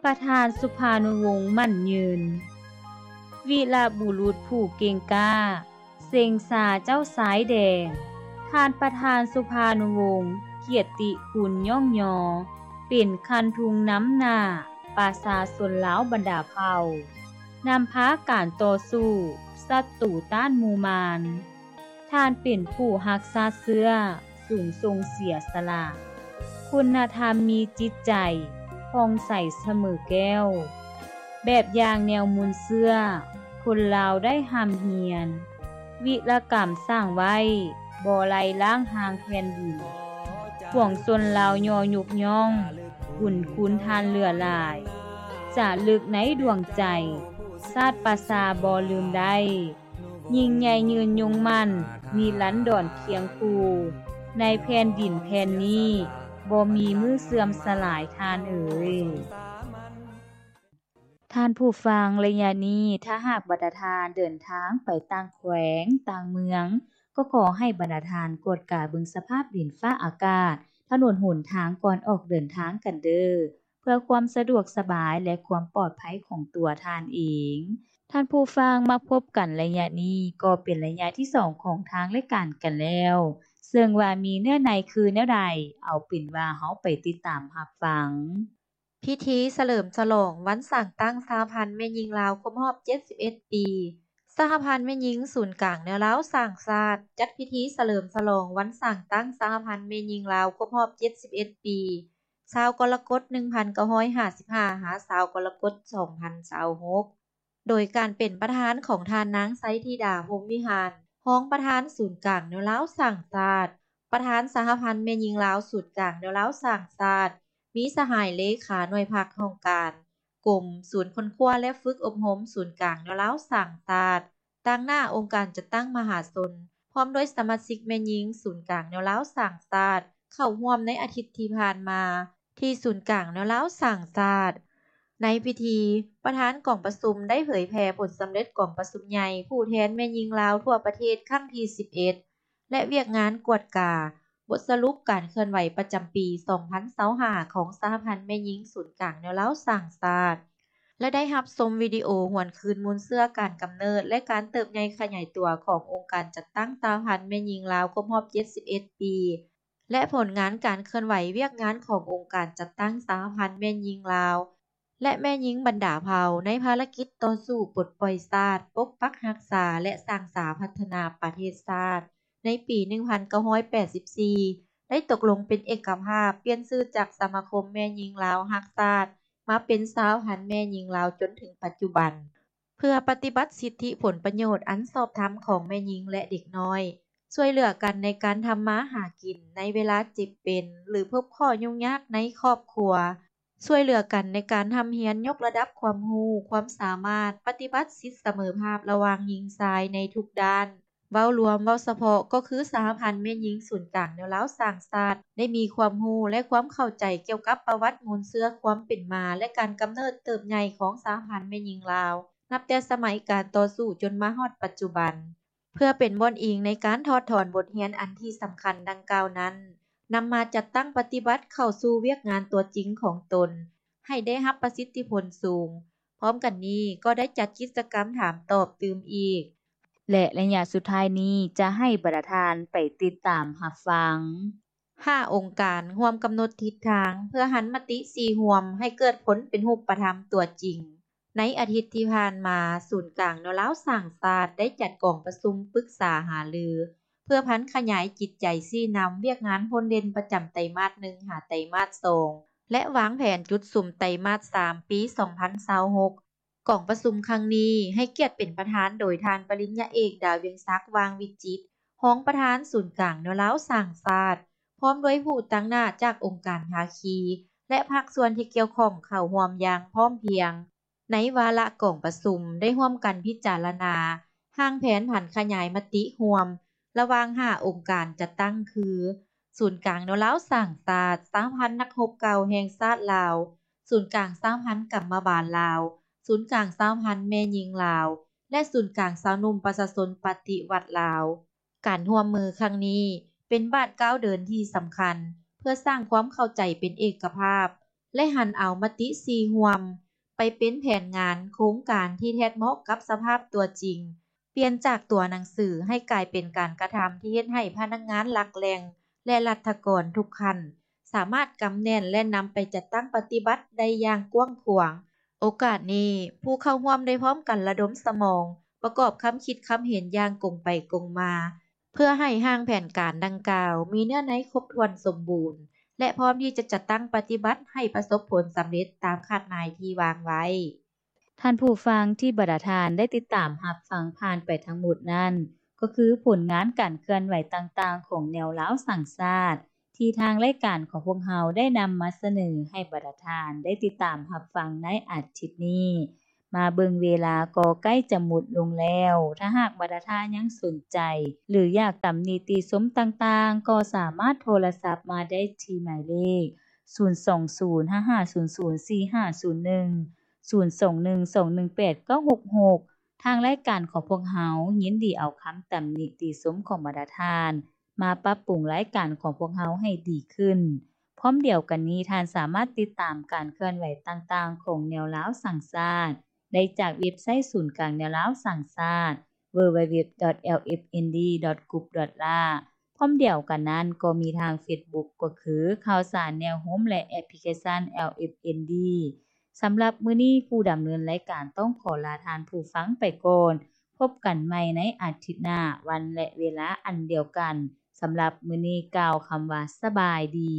ປະທານສຸພານຸວົງໝັ້ນຍືນ ວີລະບຸລຸດຜູ້ເກັ່ງກ້າ ເສັງຊາເຈົ້າຊາຍແດງ. ທ່ານປະທານສຸພານຸວົງ ກຽດຕິຄຸນຍ້ອງຍໍ ເປັນຄັນທຸງນຳໜ້າປະຊາຊົນລາວບັນດາເຜົ່າ ນຳພາການຕໍ່ສູ້ສັດຕູຕ້ານໝູ່ມານ. ທ່ານເປັນຜູ້ຮັກຊາດເຊື້ອ ສູງສົ່ງເສຍສະຫຼະ ຄຸນນະທຳມີຈິດໃຈຜ່ອງໃສສະເໝີແກ້ວ ແບບຢ່າງແນວມູນເຊື້ອ ຄົນລາວໄດ້ຮ່ຳຮຽນ ວິລະກຳສ້າງໄວ້ ບໍ່ໄລລ້າງຮ່າງແຜ່ນດິນ ປວງຊົນລາວຍໍຍົກຍ້ອງ ບຸນຄຸນທ່ານເຫຼືອຫຼາຍ ຈາລຶກໃນດວງໃຈ ຊາດປະຊາບໍ່ລືມໄດ້. ຍິ່ງໃຫຍ່ຍືນຍົງໝັ້ນ ນິລັນດອນຄຽງຄູ່ ໃນແຜ່ນດິນແຜ່ນນີ້ ບໍ່ມີມື້ເສື່ອມສະຫຼາຍທ່ານເອີຍ. ທ່ານຜູ້ຟັງ, ໄລຍະນີ້ ຖ້າຫາກບັນດາທ່ານເດີນທາງໄປຕ່າງແຂວງ, ຕ່າງເມືອງ, ກໍຂໍໃຫ້ບັນດາທ່ານກວດກາເບິ່ງສະພາບດິນຟ້າອາກາດ, ຖະໜົນຫົນທາງກ່ອນອອກເດີນທາງກັນເດີ້. ເພື່ອຄວາມສະດວກສະບາຍ ແລະ ຄວາມປອດໄພຂອງຕົວທ່ານເອງ. ທ່ານຜູ້ຟັງ, ມາພົບກັນໄລຍະນີ້ກໍເປັນໄລຍະທີສອງຂອງທາງລາຍການກັນແລ້ວ, ເຊິ່ງວ່າມີເນື້ອໃນຄືແນວໃດ, ເອົາເປັນວ່າເຮົາໄປຕິດຕາມຮັບຟັງ. ພິທີສະເຫຼີມສະຫຼອງວັນສ້າງຕັ້ງສະຫະພັນແມ່ຍິງລາວຄົບຮອບເຈັດສິບເອັດປີ. ສະຫະພັນແມ່ຍິງສູນກາງແນວລາວສ້າງຊາດ ຈັດພິທີສະເຫຼີມສະຫຼອງວັນສ້າງຕັ້ງສະຫະພັນແມ່ຍິງລາວຄົບຮອບເຈັດສິບເອັດປີ. ຊາວກໍລະກົດ ໜຶ່ງພັນເກົ້າຮ້ອຍຫ້າສິບຫ້າ ຫາ ຊາວກໍລະກົດ ສອງພັນຊາວຫົກ ໂດຍການເປັນປະທານຂອງທ່ານນາງ ໄຊທິດາ ພົມວິຫານ ຮອງປະທານສູນກາງແນວລາວສ້າງຊາດ, ປະທານສະຫະພັນແມ່ຍິງລາວສູນກາງແນວລາວສ້າງຊາດ, ມີສະຫາຍເລຂາໜ່ວຍພັກຫ້ອງການ ກົມ, ສູນຄົ້ນຄວ້າ ແລະ ຝຶກອົບຮົມສູນກາງແນວລາວສ້າງຊາດ, ຕາງໜ້າອົງການຈັດຕັ້ງມະຫາຊົນ ພ້ອມດ້ວຍສະມາຊິກແມ່ຍິງສູນກາງແນວລາວສ້າງຊາດ ເຂົ້າຮ່ວມໃນອາທິດທີ່ຜ່ານມາ ທີ່ສູນກາງແນວລາວສ້າງຊາດ. ໃນພິທີ, ປະທານກອງປະຊຸມໄດ້ເຜີຍແຜ່ຜົນສຳເລັດກອງປະຊຸມໃຫຍ່ຜູ້ແທນແມ່ຍິງລາວທົ່ວປະເທດຄັ້ງທີສິບເອັດ ແລະ ວຽກງານກວດກາ ບົດສະຫຼຸບການເຄື່ອນໄຫວປະຈຳປີສອງພັນຊາວຫ້າ ຂອງສະຫະພັນແມ່ຍິງສູນກາງແນວລາວສ້າງຊາດ ແລະ ໄດ້ຮັບຊົມວິດີໂອຫວນຄືນມູນເຊື້ອການກຳເນີດ ແລະ ການເຕີບໃຫຍ່ຂະຫຍາຍຕົວຂອງອົງການຈັດຕັ້ງສະຫະພັນແມ່ຍິງລາວຄົບຮອບເຈັດສິບເອັດປີ ແລະ ຜົນງານການເຄື່ອນໄຫວວຽກງານຂອງອົງການຈັດຕັ້ງສະຫະພັນແມ່ຍິງລາວ ແລະ ແມ່ຍິງບັນດາເຜົ່າ ໃນພາລະກິດຕໍ່ສູ້ປົດປ່ອຍຊາດ, ປົກປັກຮັກສາ ແລະ ສ້າງສາພັດທະນາປະເທດຊາດ ໃນປີໜຶ່ງພັນເກົ້າຮ້ອຍແປດສິບສີ່ ໄດ້ຕົກລົງເປັນເອກະພາບປ່ຽນຊື່ຈາກສະມາຄົມແມ່ຍິງລາວຮັກຊາດ ມາເປັນສະຫະພັນແມ່ຍິງລາວຈົນເຖິງປັດຈຸບັນ. ເພື່ອປະຕິບັດສິດທິຜົນປະໂຫຍດອັນຊອບທຳຂອງແມ່ຍິງ ແລະ ເດັກນ້ອຍ, ຊ່ວຍເຫຼືອກັນໃນການທຳມາຫາກິນໃນເວລາເຈັບເປັນ ຫຼື ພົບຂໍ້ຫຍຸ້ງຍາກໃນຄອບຄົວ, ຊ່ວຍເຫຼືອກັນໃນການຮ່ຳຮຽນຍົກລະດັບຄວາມຮູ້, ຄວາມສາມາດ, ປະຕິບັດສິດສະເໝີພາບລະຫວ່າງຍິງຊາຍໃນທຸກດ້ານ. ເວົ້າລວມ, ເວົ້າສະເພາະ ກໍຄືສະຫະພັນແມ່ຍິງສູນກາງແນວລາວສ້າງຊາດ ໄດ້ມີຄວາມຮູ້ ແລະ ຄວາມເຂົ້າໃຈກ່ຽວກັບປະຫວັດມູນເຊື້ອຄວາມເປັນມາ ແລະ ການກຳເນີດເຕີບໃຫຍ່ຂອງສະຫະພັນແມ່ຍິງລາວ ນັບແຕ່ສະໄໝການຕໍ່ສູ້ຈົນມາຮອດປັດຈຸບັນ. ເພື່ອເປັນບ່ອນອີງໃນການຖອດຖອນບົດຮຽນອັນທີ່ສຳຄັນດັ່ງກ່າວນັ້ນ, ນຳມາຈັດຕັ້ງປະຕິບັດເຂົ້າສູ່ວຽກງານຕົວຈິງຂອງຕົນ ໃຫ້ໄດ້ຮັບປະສິດທິຜົນສູງ. ພ້ອມກັນນີ້ກໍໄດ້ຈັດກິດຈະກຳຖາມຕອບຕື່ມອີກ ແລະ ໄລຍະສຸດທ້າຍນີ້ຈະໃຫ້ບັນດາທ່ານໄປຕິດຕາມຮັບຟັງ. ຫ້າອົງການຮ່ວມກຳນົດທິດທາງເພື່ອຫັນມະຕິສີ່ຮ່ວມໃຫ້ເກີດຜົນເປັນຮູບປະທຳຕົວຈິງ. ໃນອາທິດທີ່ຜ່ານມາ, ສູນກາງແນວລາວສ້າງຊາດໄດ້ຈັດກອງປະຊຸມປຶກສາຫາລື ເພື່ອຜັນຂະຫຍາຍຈິດໃຈຊີ້ນຳວຽກງານພົ້ນເດັ່ນປະຈຳໄຕມາດໜຶ່ງ ຫາໄຕມາດສອງ ແລະ ວາງແຜນຈຸດສຸມໄຕມາດສາມ ປີສອງພັນຊາວຫົກ. ກອງປະຊຸມຄັ້ງນີ້ໃຫ້ກຽດເປັນປະທານໂດຍທ່ານປະລິນຍາເອກ ດາວຽງສັກ ຫວ່າງວິຈິດ ຮອງປະທານສູນກາງແນວລາວສ້າງຊາດ ພ້ອມດ້ວຍຜູ້ຕາງໜ້າຈາກອົງການພາຄີ ແລະ ພາກສ່ວນທີ່ກ່ຽວຂ້ອງເຂົ້າຮ່ວມຢ່າງພ້ອມພຽງ. ໃນວາລະກອງປະຊຸມໄດ້ຮ່ວມກັນພິຈາລະນາຮ່າງແຜນຜັນຂະຫຍາຍມະຕິຮ່ວມ ລະຫວ່າງຫ້າອົງການຈັດຕັ້ງຄື ສູນກາງແນວລາວສ້າງຊາດ, ສະຫະພັນນັກຮົບເກົ່າແຫ່ງຊາດລາວ, ສູນກາງສະຫະພັນກຳມະບານລາວ, ສູນກາງສະຫະພັນແມ່ຍິງລາວ ແລະ ສູນກາງຊາວໜຸ່ມປະຊາຊົນປະຕິວັດລາວ. ການຮ່ວມມືຄັ້ງນີ້ເປັນບາດກ້າວເດີນທີ່ສຳຄັນ ເພື່ອສ້າງຄວາມເຂົ້າໃຈເປັນເອກະພາບ ແລະຫັນເອົາມະຕິສີ່ຮ່ວມ ໄປເປັນແຜນງານໂຄງການທີ່ແທດເໝາະກັບສະພາບຕົວຈິງ, ປ່ຽນຈາກຕົວໜັງສືໃຫ້ກາຍເປັນການກະທຳທີ່ເຮັດໃຫ້ພະນັກງານຫຼັກແຫຼ່ງ ແລະລັດຖະກອນທຸກຂັ້ນ ສາມາດກຳແໜ້ນ ແລະນຳໄປຈັດຕັ້ງປະຕິບັດໄດ້ຢ່າງກວ້າງຂວາງ. ໂອກາດນີ້ ຜູ້ເຂົ້າຮ່ວມໄດ້ພ້ອມກັນລະດົມສະໝອງ ປະກອບຄຳຄິດຄຳເຫັນຢ່າງກົງໄປກົງມາ ເພື່ອໃຫ້ຮ່າງແຜນການດັ່ງກ່າວມີເນື້ອໃນຄົບຖ້ວນສົມບູນ ແລະພ້ອມທີ່ຈະຈັດຕັ້ງປະຕິບັດໃຫ້ປະສົບຜົນສຳເລັດຕາມຄາດໝາຍທີ່ວາງໄວ້. ທ່ານຜູ້ຟັງທີ່ບັນດາທ່ານໄດ້ຕິດຕາມຮັບຟັງຜ່ານໄປທັງໝົດນັ້ນ ກໍຄືຜົນງານການເຄື່ອນໄຫວຕ່າງໆຂອງແນວລາວສ້າງຊາດ ທີ່ທາງລາຍການຂອງພວກເຮົາໄດ້ນຳມາສະເໜີໃຫ້ບັນດາທ່ານໄດ້ຕິດຕາມຮັບຟັງໃນອາທິດນີ້. ມາເບິ່ງເວລາກໍໃກ້ຈະໝົດລົງແລ້ວ. ຖ້າຫາກບັນດາທ່ານຍັງສົນໃຈ ຫຼື ຢາກຕຳໜິຕິຊົມຕ່າງໆ ກໍສາມາດໂທລະສັບມາໄດ້ທີ່ໝາຍເລກ ສູນສອງສູນ ຫ້າຫ້າສູນສູນ ສີ່ຫ້າສູນໜຶ່ງ ສູນສອງໜຶ່ງສອງໜຶ່ງແປດເກົ້າຫົກຫົກ. ທາງລາຍການຂອງພວກເຮົາຍິນດີເອົາຄຳຕຳໜິຕິຊົມຂອງບັນດາທ່ານ ມາປັບປຸງລາຍການຂອງພວກເຮົາໃຫ້ດີຂຶ້ນ. ພ້ອມດຽວກັນນີ້, ທ່ານສາມາດຕິດຕາມການເຄື່ອນໄຫວຕ່າງໆຂອງແນວລາວສ້າງຊາດ ໄດ້ຈາກເວັບໄຊສູນກາງແນວລາວສ້າງຊາດ www.lfnd.group.la. ພ້ອມດຽວກັນນັ້ນກໍມີທາງເຟສບຸກ ກໍຄືຂ່າວສານແນວໂຮມ ແລະ ແອັບພລິເຄຊັນ LFND. ສຳລັບມື້ນີ້ ຜູ້ດຳເນີນລາຍການຕ້ອງຂໍລາທ່ານຜູ້ຟັງໄປກ່ອນ. ພົບກັນໃໝ່ໃນອາທິດໜ້າ ວັນ ແລະ ເວລາອັນດຽວກັນ. ສຳລັບມື້ນີ້ກ່າວຄຳວ່າສະບາຍດີ.